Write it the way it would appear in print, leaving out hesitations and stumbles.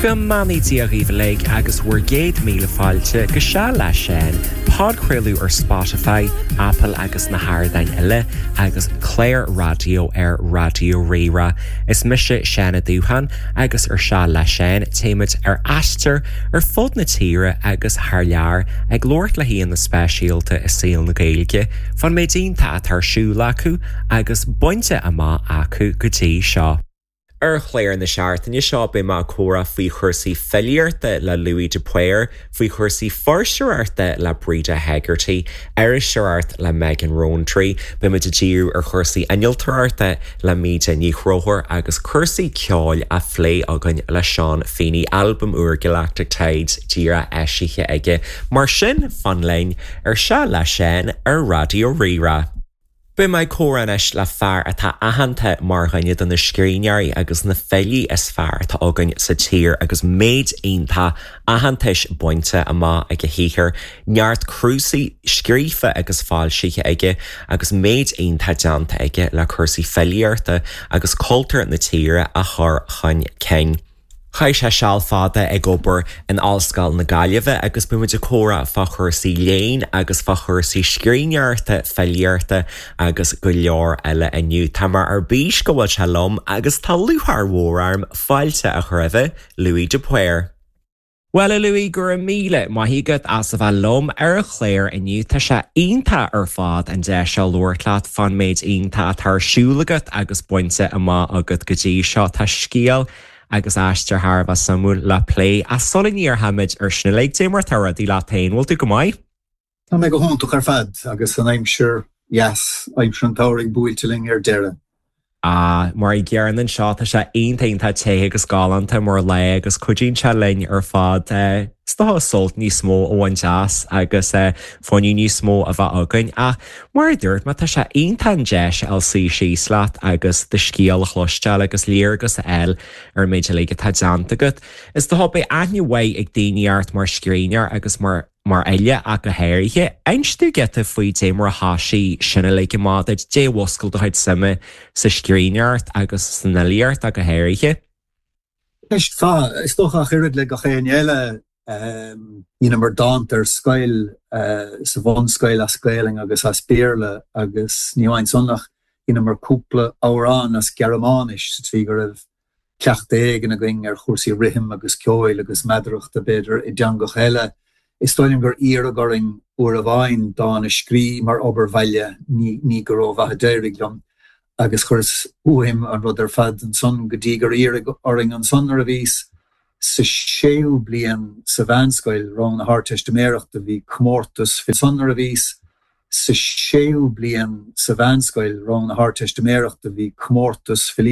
Go mbeannaí Dia dhaoibh uilig agus bhur gcéad míle fáilte go Seal le Seán, podchraoladh ar Spotify, Apple agus na hardáin eile, agus clár raidió ar Raidió Rí-Rá. Is mise Seán Ó Dúcháin agus ar Seal le Seán téimid ar aistear ar fud na tíre agus thar lear ag labhairt le haíonna speisialta i saol na Gaeilge fán méid iontach atá ar siúl acu agus bainte amach acu go dtí seo. Ar chlár na seachtaine seo beidh mé ag comhrá faoi chúrsaí filíochta le Louis de Paor, faoi chúrsaí fuirseoireachta le Breda Hegarty, iriseoireacht le Megan Rowntree, beidh muid ag díriú ar chúrsaí innealtóireachta le Míde Ní Chonchúir agus cúrsaí ceoil á phlé againn le Seán Feeney, albam úr Galactic Tides díreach eisithe aige. Mar sin, fan linn ar Seal le Seán ar Raidió Rí-Rá. Beidh mé ag comhrá anois le fear atá aitheanta mar dhuine de na scríbhneoirí agus na filí is fearr atá againn sa tír agus méid iontach aitheantais bainte amach ag a shaothar, neart cnuasaigh scríofa agus foilsithe aige agus méid iontach déanta aige le cúrsaí filíochta agus cultúr na tíre a chur chun cinn. Chaith sé seal fada ag obair in Ollscoil na Gaillimhe agus beidh muid ag comhrá fá chúrsaí léinn agus fá chúrsaí scríbhneoireachta, filíochta agus go leor eile inniu. Tá mé ar bís go bhfuil sé liom agus tá lúcháir mhór orm fáilte a chur roimhe, Louis de Paor. Bhuel, a Louis, go raibh míle maith agat as a bheith liom ar an chlár inniu. Tá sé iontach ar fad an deis seo labhairt leat fán méid iontach atá ar siúl agat agus bainte amach agat go dtí seo. Tá scéal agus aistear thar a bheith suimiúil le plé. Ach sula ndíreoimid ar sin uilig, dé mar atá rudaí leat féin, bhfuil tú go maith? Tá mé go hiontach ar fad agus an aimsir dheas, aimsir an tsamhraidh buailte linn ar deireadh. Ah, mar an gcéanna anseo, tá sé iontach iontach te agus galánta mar lá agus cuidíonn sé linn ar fad is dócha sult níos mó a bhaint as agus fuinneamh níos mó a bheith againn. Ach mar a dúirt mé, tá sé iontach an deis a fháil suí síos leat agus do scéal a chloisteáil agus léargas a fháil ar an méid uilig atá déanta agat. Is dócha beidh aithne mhaith ag daoine ort mar scríbhneoir agus mar. mar fhile ach go háirithe. Inis domh giota faoi dé mar a thoisigh sin uilig amach duit, dé a mhúscail do chuid suime sa scríbhneoireacht agus san fhilíocht ach go háirithe. Ceist mhaith. Is dócha ach oiread le gach éinne eile, dheineamar dánta ar scoil, sa bhunscoil as Gaelainn agus as Béarla agus ní hamháin san ach dheineamar cúpla amhrán as Gearmáinis sa tslí go raibh cleachtadh éigin againn ar chúrsaí rithim agus ceoil agus meadarachta, b'fhéidir, i dteangacha eile. Is dóigh liom gur iarradh orainn uair amháin dán a scrí mar obair bhaile, ní go rómhaith a d'éirigh liom, agus chuireas uaim an rud ar fad ansan go dtí gur iarradh orainn ansan nuair a bhíos sa séú bliain sa mheánscoil, rang na hArdteistiméireachta, bhí comórtas ansan nuair a bhíos sa séú bliain sa mheánscoil, rang na hArdteistiméireachta, bhí comórtas filíochta.